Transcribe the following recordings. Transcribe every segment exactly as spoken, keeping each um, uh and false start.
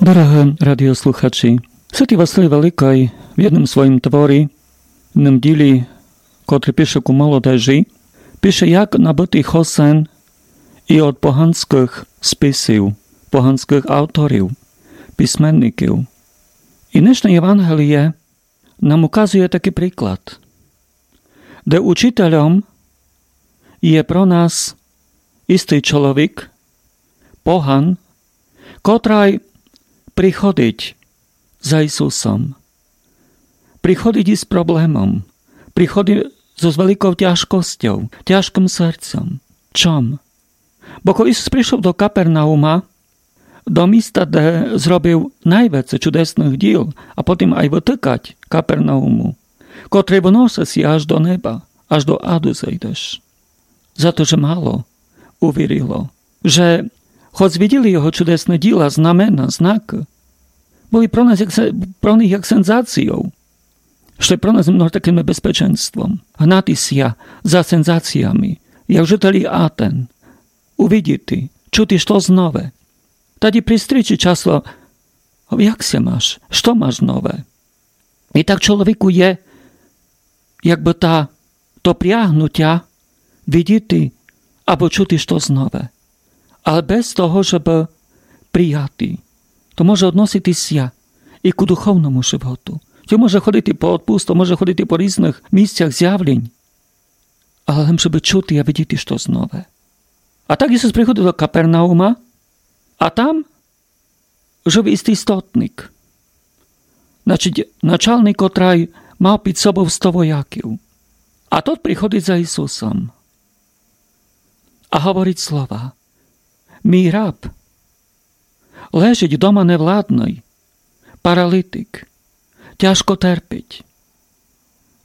Дорогы радіослухачі, Святый Василій Великый в єдным своїм творі, в єдным ділі, котрый пише ку молодежі, пише, як набыти хосен і од поганьскых списів, поганьскых авторів, письменників. І днешне Євангеліє нам указує такый приклад, де учітельом є про нас істый чоловік, поган, котрый приходить за Ісусом. Приходить із проблемом, приходить зо, з великов тяжкостьов, тяжкым серцьом. Чом? Бо коли Ісус пришов до Капернаума, до міста, де зробив найвеце чудесных діл, а потім ай вытыкать Капернауму, котрый выносить ся аж до неба, аж до аду зайдеш. За то, же мало увірило, же хоц виділи його чудесны діла, знамена, знакы, были про нас як се-, про них як сензаційов, што є про нас много такым небезпеченством. Гнати ся за сензаціями, як жителі Атен, увидіти, чути штось нове. Тоді при стрічі часто: «Як ся маш? Што маш нове?» І так чоловіку є, якбы та, то прягнутя видіти або чути штось нове. Але без того, жебы прияти, то може односити ся і ку духовному животу. То може ходити по одпусту, може ходити по різных місцях зявлень. Але лем жебы чути а видіти штось нове. А так Ісус приходив до Капернаума, а там жив істый стотник. Значить, началник, котрый мав під собов сто вояків. А тот приходить за Ісусом. А говорить слова: «Мій раб лежить дома невладный, паралітик, тяжко терпить».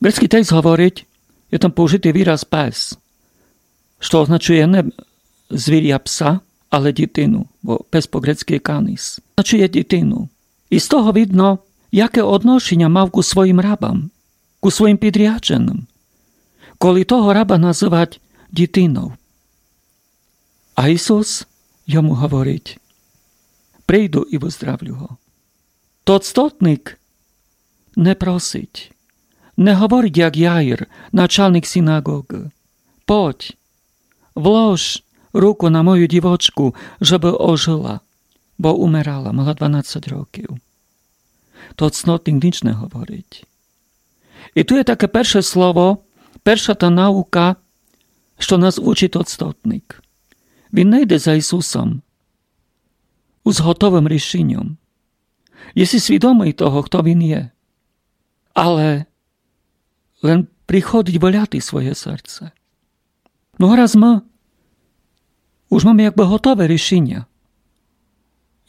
Грецькый текст говорить, є там поужитый вираз пес, што означує не звіря пса, але дітину, бо пес по грецькы є каніс. Означує дітину. І з того видно, яке одношеня мав ку своїм рабам, ку своїм підрядженым, коли того раба называть дітинов. А Ісус йому говорить: «Прийду і выздравлю го». Тот стотник не просить, не говорить, як Яїр, началник синагогы: «Подь, влож руку на мою дівочку, жебы ожыла, бо умерала, мала дванадцять років». Тот стотник ніч не говорить. І ту є таке перше слово, перша та наука, што нас учить тот стотник. Він не йде за Ісусом з готовым рішеньом. Є си свідомый того, хто він є. Але лем приходить выляти своє серце. Но раз мы уж маме якбы готове рішеня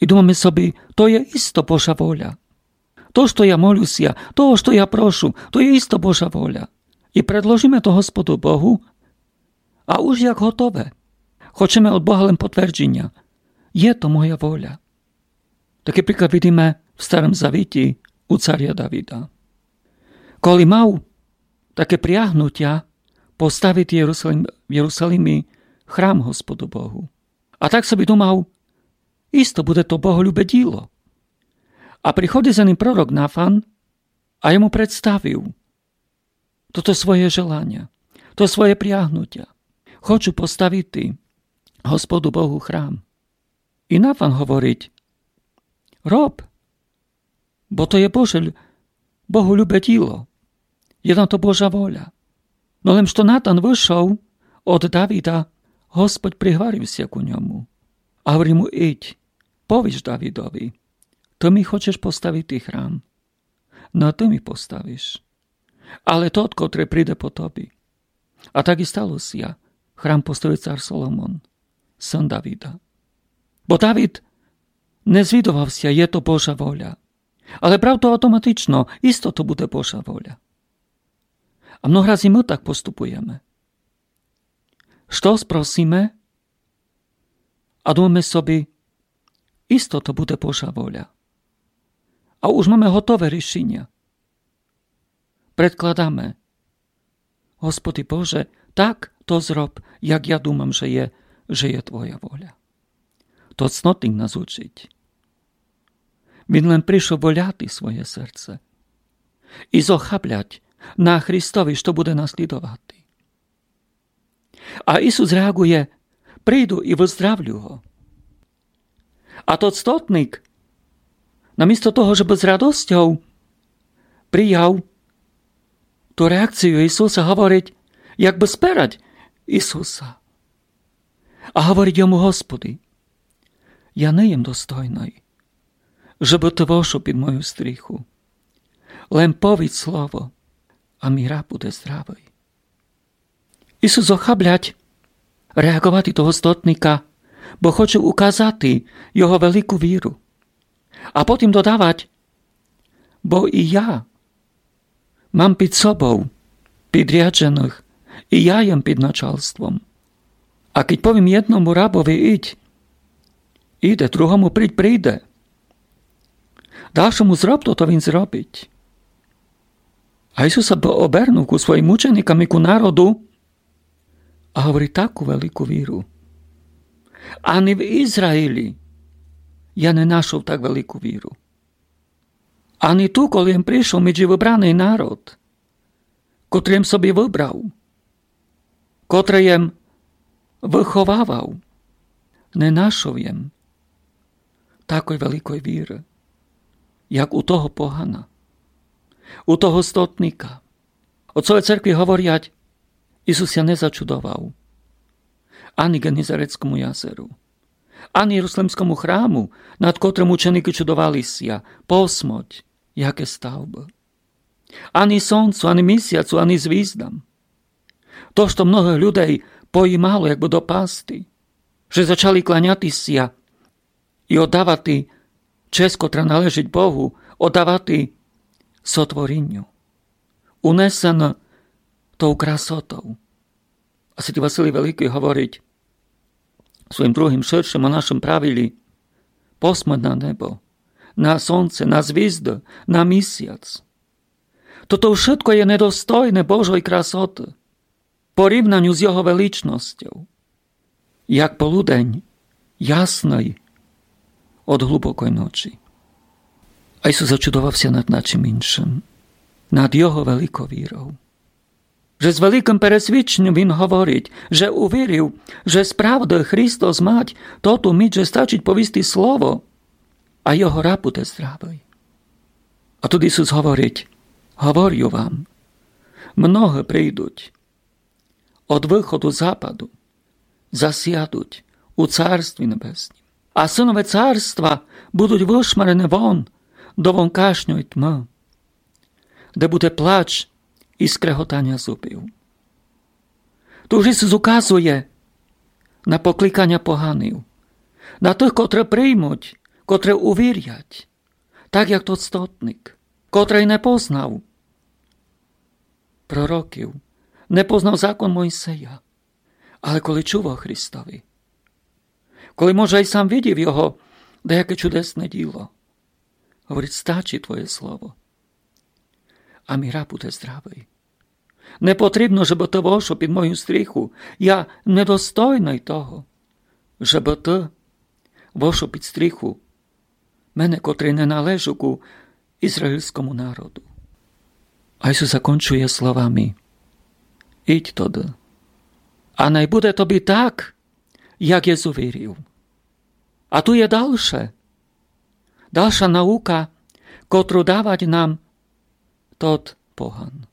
і думаме собі: «То є істо Божа воля. То, што я молю ся, того, што я прошу, то є істо Божа воля». І предложиме то Господу Богу, а уж як готове. Хочеме од Бога лем потвердженя: «Є то моя воля». Такый приклад видиме в Старым Завіті у царя Давида. Коли мав таке прягнутя поставити Єрусалим-, в Єрусалимі храм Господу Богу. А так собі думав: «Істо буде то боголюбе діло». А приходить за ним пророк Нафан, а йому представив тото своє желаня, то своє прягнутя: «Хочу поставити Господу Богу храм». І Нафан говорить: «Роб, бо то є Боже лю-, Богу любе діло, є на то Божа воля». Но лем што Натан вышов од Давида, Господь пригварив ся ку ньому. А говори му: «Ідь, повіш Давидови: Ты ми хочеш поставити храм, но ты ми поставиш. Але тот, котрый приде по тобі». А так і стало ся. Храм поставив цар Соломон, сын Давида. Бо Давид не звідовав ся, є то Божа воля. Але брав то автоматично, істо то буде Божа воля. А много раз і мы так поступуєме. Што спросиме, а думаме собі: «Істо то буде Божа воля». А уж маме готове рішеня. Предкладаме: «Господи Боже, так то зроб, як я думам, же є, же є Твоя воля». Тот стотник нас учить. Він лем пришов воляти своє серце. И зохаблять на Христови, што буде наслідовати. А Исус реаґує: «Приду и выздравлю го». А тот стотник, намісто того, жебы з радосцьов прияв ту реакцию Исуса, говорить, якбы сперать Исуса. А говорить йому: «Господи, я не єм достойный, жебы ты вошов під мою стріху. Лем повідь слово, а мій раб буде здравый». Исус зохаблять реаґовати того стотника, бо хоче указати його велику віру. А потім додавать: «Бо и я мам під собов підрядженых, и я єм під началством. А кідь повім єдному рабови: „Идь“, иде, другому: „Придь“, прийде. Далшому: „Зроб тото“, він зробить». А Исус бы обернув ку своїм ученикам и ку народу, а говорить: «Таку велику віру ани в Израїлї я не нашов, так велику віру. Ани ту, коли єм пришов меджі выбраный народ, котрый єм собі выбрав, котрый єм выховавав, не нашов єм такой великой віры, як у того погана, у того стотника». Отцове церкви говорять: Исус ся не зачудовав ани Ґенезарецкому язеру, ани Єрусалимскому храму, над котрым ученикы чудовали ся, посмоть, яке ставбы, ани сонцу, ани місяцу, ани звіздам. То, што многых людей поїмало, якбы допасти, же зачали кланяти ся и оддавати честь, котра належить Богу, оддавати сотворінню, унесено тов красотов. А святый Василий Великый говорить у своїм другым, ширшым о нашым правилї: «Посмоть на небо, на сонце, на звізды, на місяц. Тото вшытко є недостойне Божой красоты, порівнаню з його величностьов, як полудень ясный од глубокой ночі». А Исус зачудовав ся над начим иншым, над його великов віров. Же з великым пересвідченьом він говорить, же увірив, же справды Христос мать тоту міч, же стачить повісти слово, а його раб буде здравый. А туй Исус говорить: «Говорю вам, многы прийдуть од выходу, западу, засядуть у Царстві Небеснім. А сынове Царства будуть вышмарены вон до вонкашньой тьмы, де буде плач и скреготаня зубів». Туй Исус указує на покликаня поганів, на тых, котры приймуть, котры увірять, так як тот стотник, котрый не познав пророків, не познав закон Мойсея, але коли чув о Христови, коли, може, ай сам видів його даяке чудесне діло, говорить: «Стачить твоє слово, а мій раб буде здравый. Не потрібно, жебы ты вошов під мою стріху. Я недостойный того, жебы ты вошов під стріху мене, котрый не належу ку ізраїльскому народу». А Ісус закончує словами: «Ідь тоды, а най буде тобі так, як єс увірив». А туй є далше, далша наука, котру давать нам тот поган.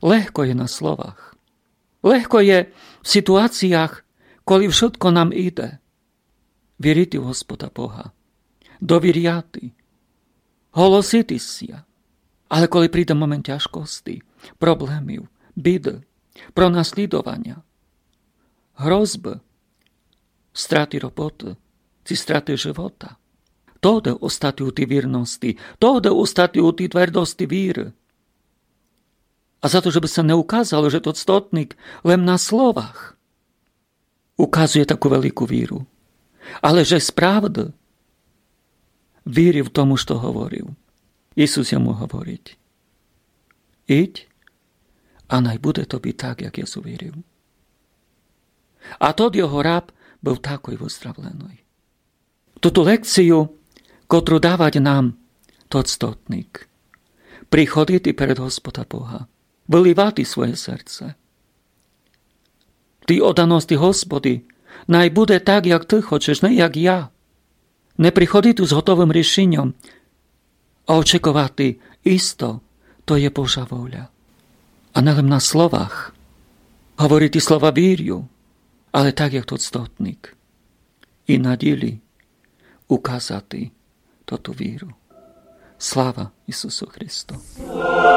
Легко є на словах. Легко є в ситуаціях, коли вшытко нам іде, вірити в Господа Бога, довіряти, голосити ся. Але коли прийде момент тяжкости, проблемів, біды, пронаслідованя, грозбы, страты роботы ци страты живота, тогды остати у тій вірности, тогды остати у тій твердости віры. А за то, жебы ся не указало, же тот стотник лем на словах указує таку велику віру, але же справды вірив тому, што говорив. Ісус йому говорить: «Ідь, а най буде тобі так, як єс увірив». А тот його раб быв такой выздравленый. Туту лекцію котру давать нам тот стотник. Приходити перед Господа Бога, выливати своє серце. Ти оданости Господи, най буде так, як Ты хочеш, не як я. Не приходити з готовым рішеньом, а очековати: исто, то є Божа воля. А не лем на словах говорити слова вірю, але так, як тот стотник. І на ділі указати тоту віру. Слава Ісусу Христу!